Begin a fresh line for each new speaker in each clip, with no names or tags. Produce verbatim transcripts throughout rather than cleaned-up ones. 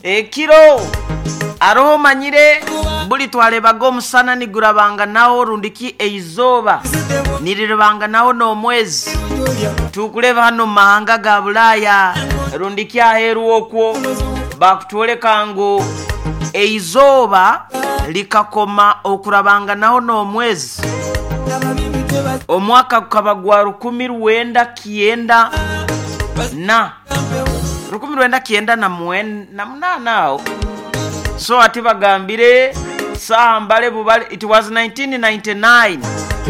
Ekiro aroho manyire buli twalebaga omusana nigurabanga nawo rundiki eizoba niriribanga nawo n'omwezi. Tukuleba hano mu mahanga ga Bulaya rundiki aheeru okwo bakutwoleka ngu eizoba likakoma okurabanga naho n'omwezi omwaka gukaba gwa rukumi rwenda kyenda na rukumi rwenda kyenda na mwen- na munana awo. So ati bagambire saha mbale bubale, it was nineteen ninety-nine,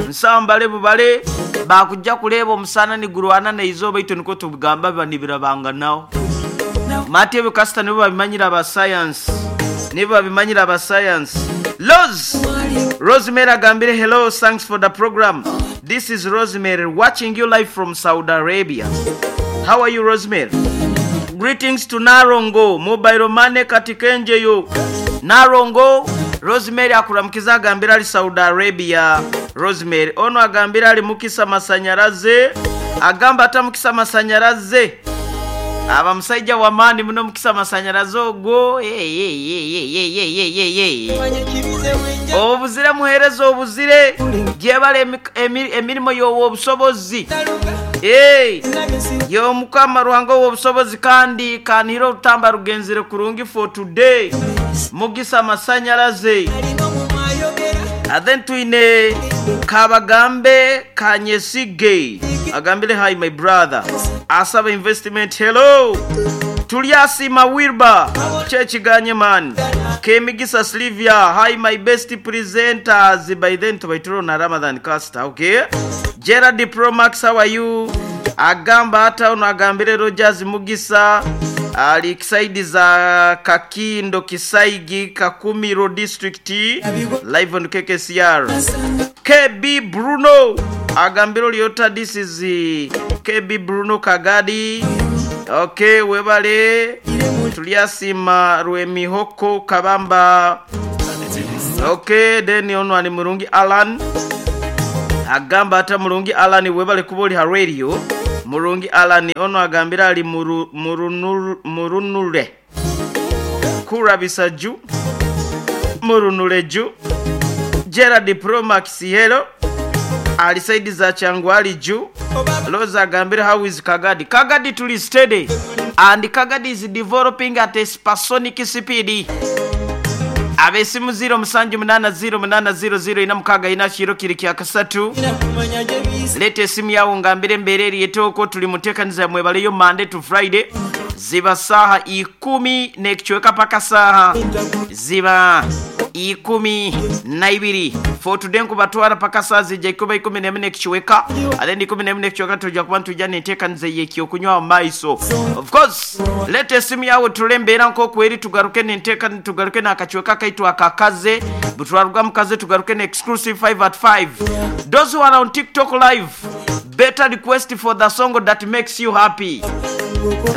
nsaha mbale bubale bakujja kuleeba omusana nigurwana neizooba, itwe nikwo tugamba biba nibirabanga nawo. Mati ebyo kasita nibo babimanyira aba science, nibo babimanyira aba science. Rose Rosemary agambire, hello, thanks for the program. This is Rosemary watching you live from Saudi Arabia. How are you, Rosemary? Greetings to Narongo mobile money katikenjeyo. Narongo Rosemary akuramukiza agambira ali Saudi Arabia. Rosemary ono agambira ali mukisa masanyaraze, agamba ata mukisa masanyaraze aba musajja wa maani muno mukisa masanyaraze ogwo. Hey, hey, hey, hey, hey, hey, hey, hey. Obuzire muhereza obuzire gyebale emirimu y'obusobozi. Hey, yo mukama Ruhanga w'obusobozi kandi kanihira orutamba rugenzire kurungi for today. Mugisa masanyaraze. And then twine Kabagambe Kanyesige agambire, hi my brother, Asaba investment, hello. Tulyasima Wilba kyekiganye man. Kemigisa Slivia, hi my best presenters. By then tubaituro na Ramadan Caster, okay. Gerard Promax, how are you? Agamba hata ono agambire Rogers Mugisa ali kisaidi za Kakindo Kisaigi Kakumiro district, live on K K C R. K B Bruno agambiro liota, this is K B Bruno Kagadi. Okay, webale tuliasima Rwemihoko Kabamba. Okay, then ono ali Murungi Alan agamba hata Murungi Alan webale kuboli ha radio. Murungi Alan ono agambira ali muru, murunur, murunure kurabisa ju murunure ju. Gerard Promax, hello, ali saidi za Changwali ju. Loza agambira, how is Kagadi? Kagadi tuli steady and Kagadi is developing at a supersonic speed. Abesimu zero musanju munana zero munana zero zero ina mukaga ina shiro kiri kya kasatu. Lete esimu yawo ngambire mbereri yetoko tuli mutekaniza mwebaleyo Monday to Friday ziba saha ikumi nekichweka paka saha ziba ikumi na ibiri. For today nkubatwara paka saa zija ikuba ikumi n'emwe nekichweka, and then ikumi n'emwe nekichweka tujja kuba ntujja nenteekaniza y'ekyokunywa maiso. Of course lete esimu yawe tulembeera nk'okweri tugaruke nenteekaniza, tugaruke n'akachweka kaitu akakaze butwaruga mukaze tugaruke ne exclusive five at five. Those who are on TikTok live, better request for the song that makes you happy.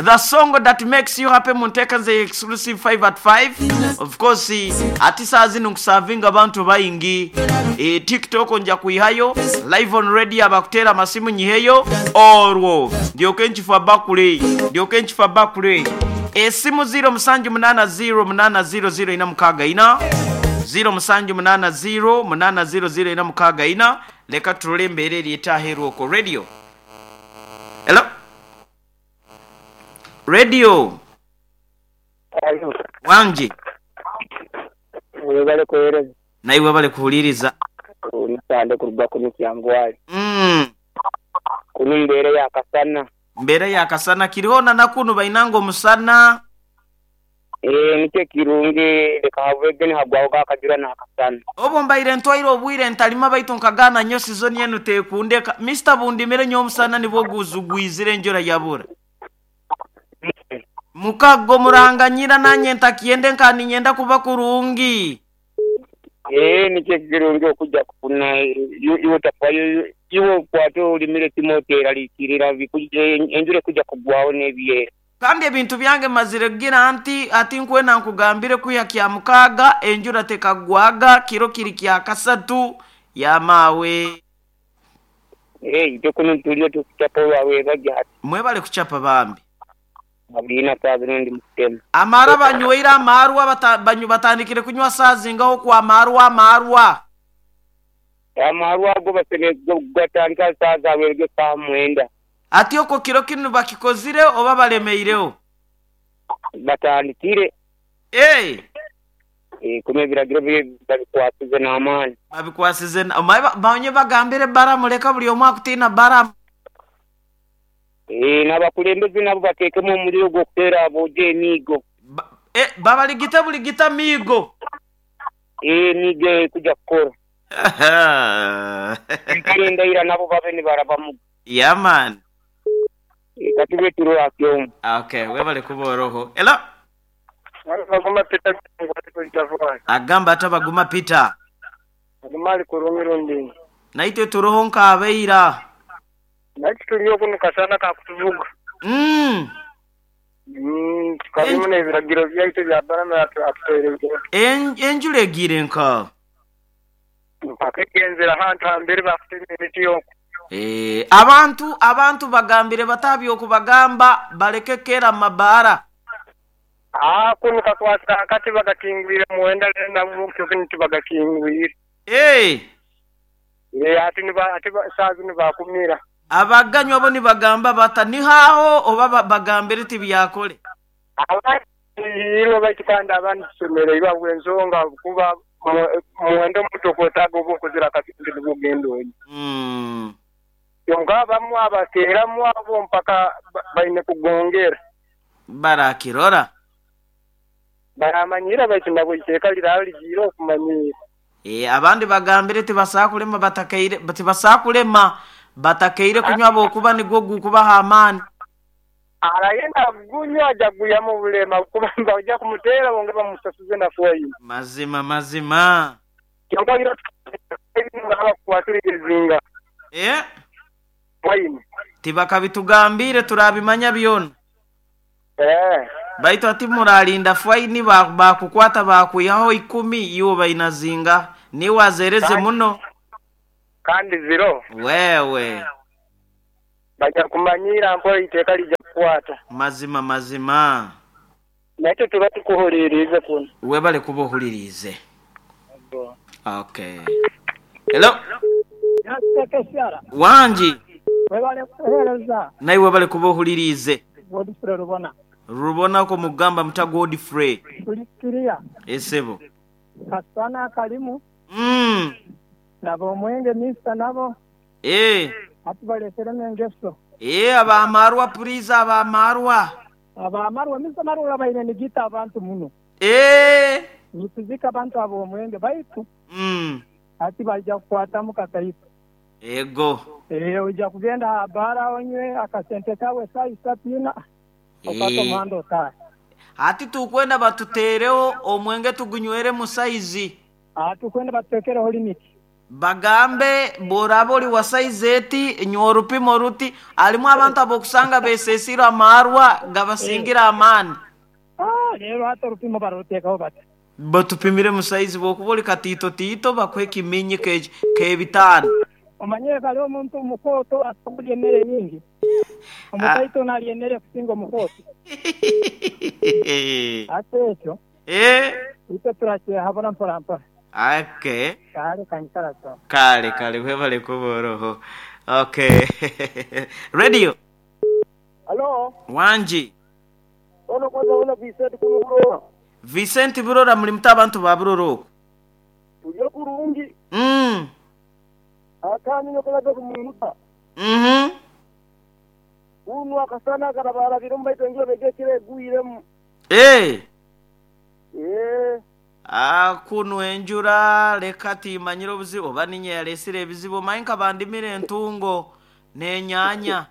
The song that makes you happy muntekanze exclusive five at five. Of course ati saa zino nkusavinga abantu bayingi. E, TikTok nja kuihayo live on radio abakutera amasimu nyiheyo orwo ndyoke nkifa bakule ndyoke nkifa bakule. Esimu zero musanju munana zero munana zero zero ina mukaga ina zero musanju munana zero munana zero zero ina mukaga ina. Leka tulole embeera eri etaheerwa okwo radio. Hello radio.
Ayo.
Wangi.
Webale kuhereza.
Naye webale kuhuliriza.
Omusande kuruga ku Kyangwali.
Mm.
Kuno mbeera yakasana.
Mbeera yakasana kiriho na nakuno bainango omusana.
Eh nikyo kirungi leka havege hagwaho kakajura nakasana.
Obo mbaire ntwaire obwire ntalima baitu nkagana nnyo season yenu tekundeka. Mister Bundimire nnyo omusana nibwo guzugwizire enjura yabura. Mukago muranganyira nanye ntakiende nkani nyenda kuba kurungi.
Eh nikyo kirungi okujja kufuna iwe tafayo iwe kwato olimire timotera likirira bikuje enjure kujja kugwaho n'ebyera.
Kandi ebintu byange mazire kugira nti ati nkwena nkugambire kuya kya mukaga enjura tekagwaga kiro kiri kya kasatu ya mawe.
Eh ite kuno tulio tukuchapa wawe bajja.
Mwebale kuchapa bambi.
Abulina saa ndi mukutema.
Amara banyweire amarwa bata, banyu batandikire kunywa saa zingaho kwa amarwa amarwa.
Amarwa ago basene gatandika saa zawerege saa mwenda.
Ati oko kiro kinu bakikozire oba balemeireho?
Batandikire.
Eh.
Eh kume biragiro babikwasize n'amaani.
Babikwasize banye bagambire bara muleka buli omwe akutina bara.
Eh n'abakulembeze nabo bateekemu omuliro gw'okuteera aboojo emiigo.
Ba, eh babaligita buligita miigo.
Eh miigo ekujja kukora. Enkalenda nabo babe nibarabamu.
Yeah man.
Katube turo akyomu.
Okay, webale kuboroho. Hello.
Baguma Peter.
Agamba atabaguma Peter.
Agumali kurungiro ndi.
Naite turoho nkabeira.
Naite tuliyo kuno kasana ka kutuvuga.
Mm.
Mm, karimu ne biragiro byaitu bya barama atutere.
En enjule gire nka.
Pakengenzera hantu hambere bafite emiti yoko.
Eh, abantu abantu bagambire batabyo kubagamba baleke kera mabara.
Ah, kuno kakwasa kati bagakingwire muwenda na mukyo kintu bagakingwire.
Eh.
Eh, ati ni ba ati sazi ni bakumira.
Abaganywa bo ni bagamba bata ni haho oba bagambire tibyakole.
Abandi iro baitukanda abantu somero iba bwenzonga kuba muwendo muto kotago obukozera kasinzi bugendo.
Mm.
Yonga bamu abatera mu abo mpaka baine kugongera.
Barakirora.
Baramanyira baitu nabo iteka lirali jiro okumanyira.
Eh abandi bagambire tibasakulema batakaire tibasakulema batakaire kunywa bokuba nigwo gukubaha amani.
Arayenda gunywa ajaguya mu bulema kubamba ojja kumutera bonge bamusasuze na foyi.
Mazima mazima.
Kyonka iro abakwatirizinga.
Eh?
Foyi.
Tibakabitugambire turabimanya byona.
Eh.
Baitu ati muralinda faini bakukwata bakuyaho ikumi iwo bainazinga ni wazereze muno
kandi zero
wewe
bajja kumanyira mpo iteka lijja kukwata.
Mazima mazima.
Nacho tuba tukuhulirize kuno.
Webale kubohulirize. Okay. Hello. Wanji.
Webale kuhereza.
Naye webale kubohulirize.
Godfrey Rubona.
Rubona ko mugamba muta Godfrey.
Tulikiria.
Esebo.
Kasana kalimu.
Mm.
Nabo mwenge misa nabo.
Eh.
Atubalesere mengeso.
Eh abamarwa puriza abamarwa.
Abamarwa misa marwa baine nigita abantu muno.
Eh.
Nituzika abantu abo mwenge baitu.
Mm.
Ati bajja kukwata mukataifa.
Ego.
Eh ojja kugenda bara onywe akasente kawe sai satina. Okato mando ta.
Ati tukwenda batutereho omwenge tugunywere mu size.
Ah tukwenda batutekereho limit.
Bagambe borabo li wa size eti nyorupimo ruti alimu abantu abokusanga besesira amarwa gabasingira amani.
Ah rero hata rupimo barutekaho bata.
Batupimire mu size bokuboli katito tito bakwe kiminyi ke ke bitano.
Omanyere kali omuntu mukoto asokulye emmere nyingi. Omutaito nalye emmere kusinga omukoto. Ate ekyo.
Eh.
Itwe turakyehabona mpora mpora.
Okay.
Kale kankara so.
Kale kale webale kuboroho. Okay. Radio.
Hello.
Wanji.
Ono kwanza una Vincent kuno.
Vincent Burora muri mutabantu ba Buroro.
Tuyo kurungi.
Mm.
Akani nokolaga kumunuta.
Mhm.
Uno akasana karabara birumba itongiro begekire guiremu.
Eh.
Eh.
Ah kunu enjura leka timanyiro obuzibu oba ninye yalesire ebizibu mainka bandimire entungo n'enyanya.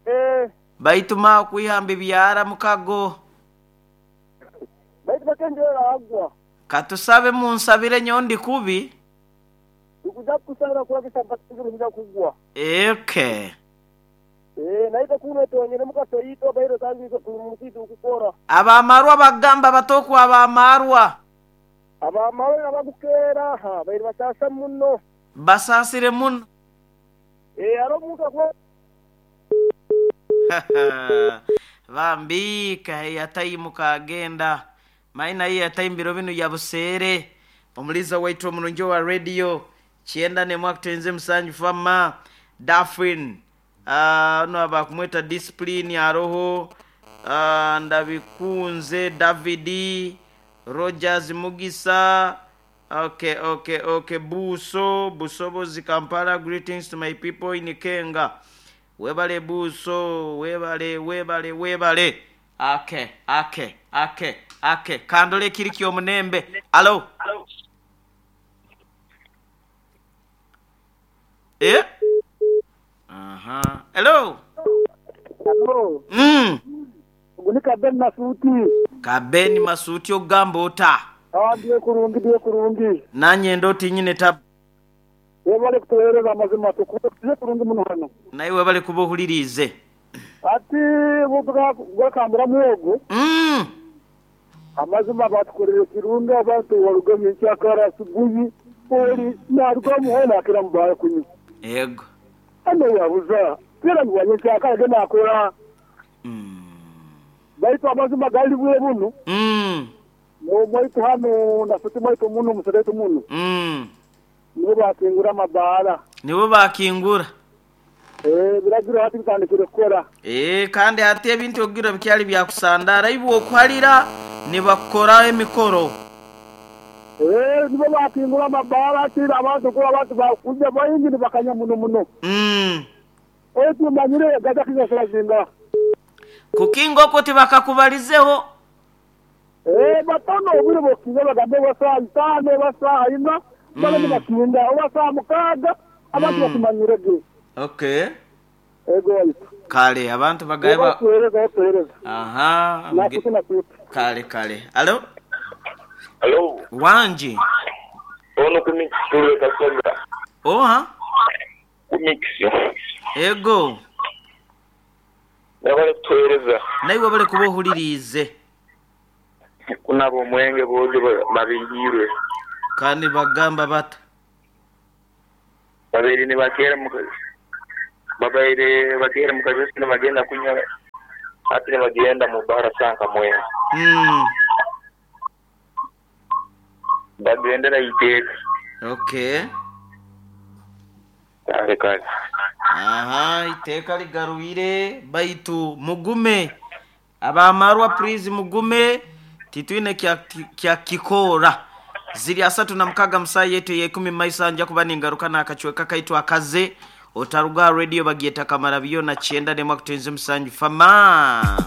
Eh.
Baituma kwihamba ebyara mukago.
Baitu bakendera agwa.
Katusabe munsabire nyondi kubi.
Ukuja kusabira kurakisa mpaka kugwa.
Okay.
Eh naita kuno tonyere mukasoyito bairo tangi kumusitu kukora.
Abamarwa bagamba batokwa abamarwa.
Abamarwa abagukera ha bairo basasa muno.
Basasire muno.
Eh aro muka kwa.
Bambi kaheyataimu kagenda maina ye yataimbiro binu ya buseere. Omuliza waitu omurungi wa radio kyenda nemwe akutenze musanju fama Dafin. Ah, ono abakumweta discipline aroho. Ah, ndabikunze Davidi Rogers Mugisa. Okay, okay, okay. Buso, Busobozi Kampala, greetings to my people in Kenga. Webale Buso, webale, webale, webale. Okay, okay, okay, okay. Kandole kiriki omunembe. Alo. Eh? Aha. Hello.
Hello.
Mm.
Ugu ni Kabeni Masuti.
Kabeni Masuti ogamba ota.
Ah, ndiye kurungi, ndiye kurungi.
Nanye ndoti nyine tab.
Webale kutuhereza amazima tukuye kurungi muno hano.
Naye webale kuba ohulirize.
Ati buga gwakambura muogo.
Mm.
Amazima batukorere kirungi abantu warugamye nkyakara asubuhi oli naruga muhona akira mubaya kunywa.
Yego.
Ano yabuza. Kira ngwanye nkyakara genda akora.
Mm.
Baitu amazima gali bwe buno.
Mm.
No mwaitu hano nafute mwaitu muno museretu muno.
Mm.
Nibo bakingura amabara.
Nibo bakingura.
Eh, biragira hati bitandikire kukora.
Eh, kandi hati ebintu ogira bikyali byakusandara ibo okuhalira nibakora emikoro.
Eh, nibo bakingura amabara ati abantu ko abantu bakuja bayingi nibakanya muno muno.
Mm.
Oyo manyire gaza kizasira zinga.
Kukinga oko tibakakubalizeho.
Eh, batono obwire bokinga bagambe basaa itano basaa ina bale nibakinga obasaa mukaaga abantu bakimanyire ge.
Okay.
Ego waitu.
Kale abantu bagaye ba
Kuhereza kuhereza.
Aha.
Nakuti nakuti.
Kale kale. Alo?
Alo.
Wanji.
Ono kumix kasoga.
Oha.
Kumix.
Ego.
Nabale kutuhereza.
Naye wabale kuba ohulirize.
Kunabo omwenge bojo babingirwe.
Kandi bagamba bata.
Babiri ni bakera mukazi. Babaire bakera mukazi nibagenda kunywa ati nibagenda mu bara sanka mwenge.
Mm.
Bagendera iteka.
Okay.
Kale kale.
Aha, iteka ligaruire baitu mugume. Abamarwa please mugume titwine kya kya kikora. Ziri asatu na mukaga msaa yetu ya ikumi maisa nja kuba ningaruka na akachweka kaitwa akaze otaruga radio bagieta kamara biyo na chienda nemwa kutenze msanju fama.